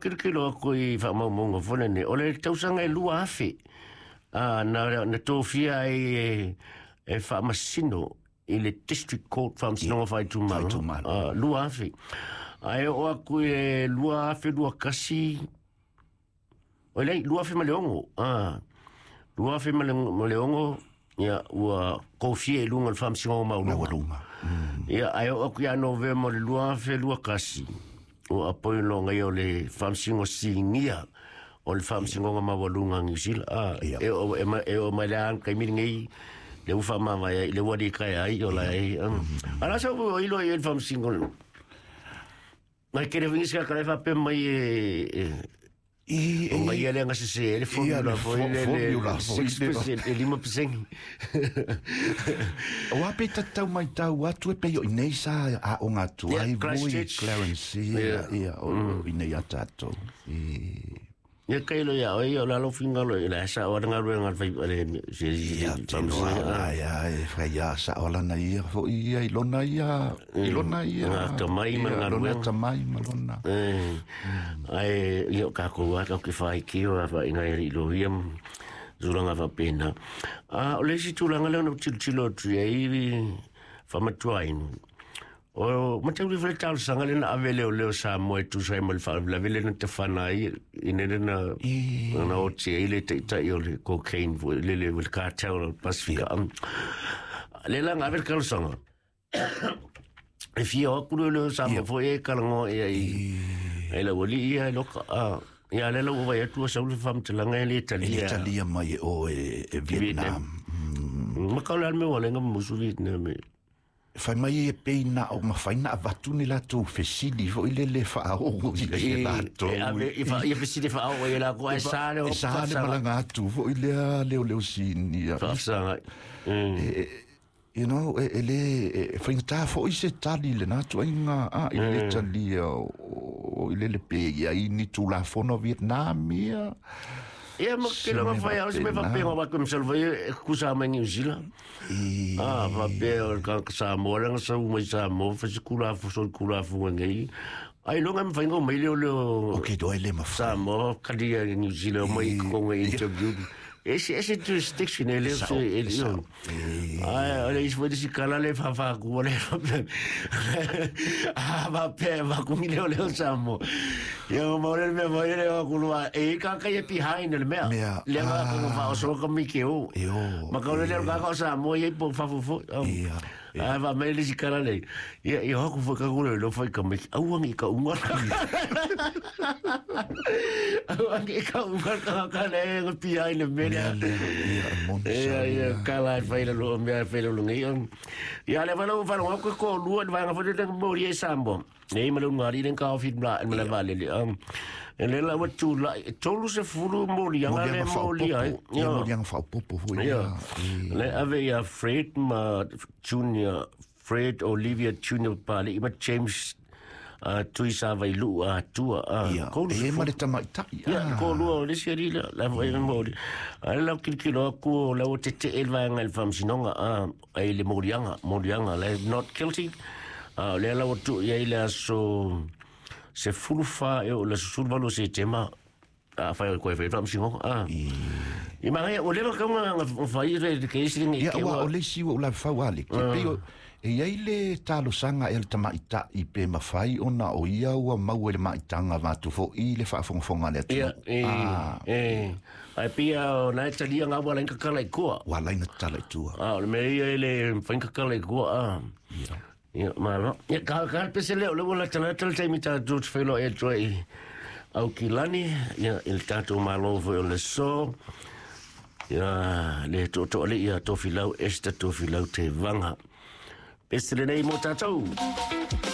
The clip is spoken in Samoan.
kilokilo aku i faamaumauga foi lenei, o le tausaga e 2000 na tofia ai e faamasino i le District Court faamasinoga faaitumalo. 2000. Ae oo aku i le 2021, o lei, 2006, 2006, ia, ua kofia i luga o le faamasinoga maualuga. Ia, ae oo aku ia Novema o le 2021, ua apoi loga ia o le faamasinoga sinia o le faamasinoga maualuga a Niu Sila. E oo mai le a taimi lenei, le ua faamavae ai, le ua alii ai, o la ai. Ala sa ua ilo ai le faamasinoga. Mai kere wingi se kare fa pe mai e o ngai ele nga se le formula foi le 6% e 5%. O a pe tatau mai tau atu e pe i nei sa a o ngā tuai vui Clarence ia o i nei a tātou. Ia kailo ia oi o lalo fingalo i la sa o nga ruenga fai le se ia ia e fai ia sa o lana ia fo ia i lona ia i lona ia nga tamai ma nga ruenga tamai ma lona ai ia ka ko wa ka fai ki o fa inga i lo ia zulanga fa pena a o le si tulanga le no tilotilo tu ai fa matuainu o matau le tau sanga le na avele o leo sa mo e tu sai mo le fa la vele na te fana ai ine na na o te ile te tai o le cocaine le le le cartel o Pasifika le la ngave kal sanga e fia o kuru le sa mo fo e kalango e ai e la wali ia loka a ia le lo vai tu sa le fam te langa le Italia Italia mai o e Vietnam ma kala me wala ngam musu Vietnam. Fai mai e peina o mafaina avatu ni latou fesili foi le le faaoo i le latou. Ia fesili faaoo i la ko e sa le o sa le malanga atu foi lea leo leo sini. Faafesaga. You know, e le faigata foi se tali le na tuaiga a i le talia o i le le pe ia i ni tulafono Vietnam ia. Ia ma ke longa fai au se me faapea wa ko msal vai kusa mai New Zealand. Ah faapea o ka Samoa langa sa mai Samoa fa se kula fo so kula fo ngai. Ai longa me fai ngo mai le o Okay do ele ma Samoa kalia New Zealand mai ko ngai interview. Ese ese jurisdiction ele ele. Ai ole is foi disi kala le fa fa ku le. Ah va pe va ku le le Samoa. Ia mo le me mo le o ku lua e ka ka e behind le mea. Le va ko fa o so ka mi ke o. Ma ka le ka ka Samoa e po fa fo. Ah va me le sikala le. Ia ia ho ku fa ka ku le lo fa ka me au ngi ka unga. Au ngi ka unga ka ka le behind le mea. Ia ia kala fai le lo mea fai le ngi. Ia le va lo fa lo ko ko lua va nga fa le mo ri Samoa. Nei ma lo ngari le ka ofi la ma le vale le. Le la wa tu la tolu se fulu mo ri nga le mo ri ai. Ia mo ri nga fa popo foi. Ia. Le ave ia Fred ma Junior Fred Olivia Junior Pali ma James Tuisa Vailu a tua a ko e ma le tamaitai ia ko lua le seri la la foi mo ri ai la kilokilo ku la o te te elva nga le famsinoga a ai le morianga morianga le not guilty a le la o tu ia ile so se fulufa e o le sulvalo se tema a fai ko e famsinoga a i mai o le ka nga fai le ke isi ngi ke o le si o la fa wale ke pe e ia le talosanga e le tamaitai pe mawhai ona o ia ua mau e le maitanga watu fo i le whaafongafonga le atu. Ia, e, ai pia o nai talia ngā wala inga kala i kua. Wala inga kala i tua. A, o le mea ia le whainga kala i kua, a. Ia. Ia, malo. Ia, ka pese leo, le wala tala tala taimi tā tūtu whailo e tua i au kilani, ia, i le tātou malo foi o le so, ia, le tō le ia Tofilau, Esther Tofilau te vanga. Pese lenei mo tātou.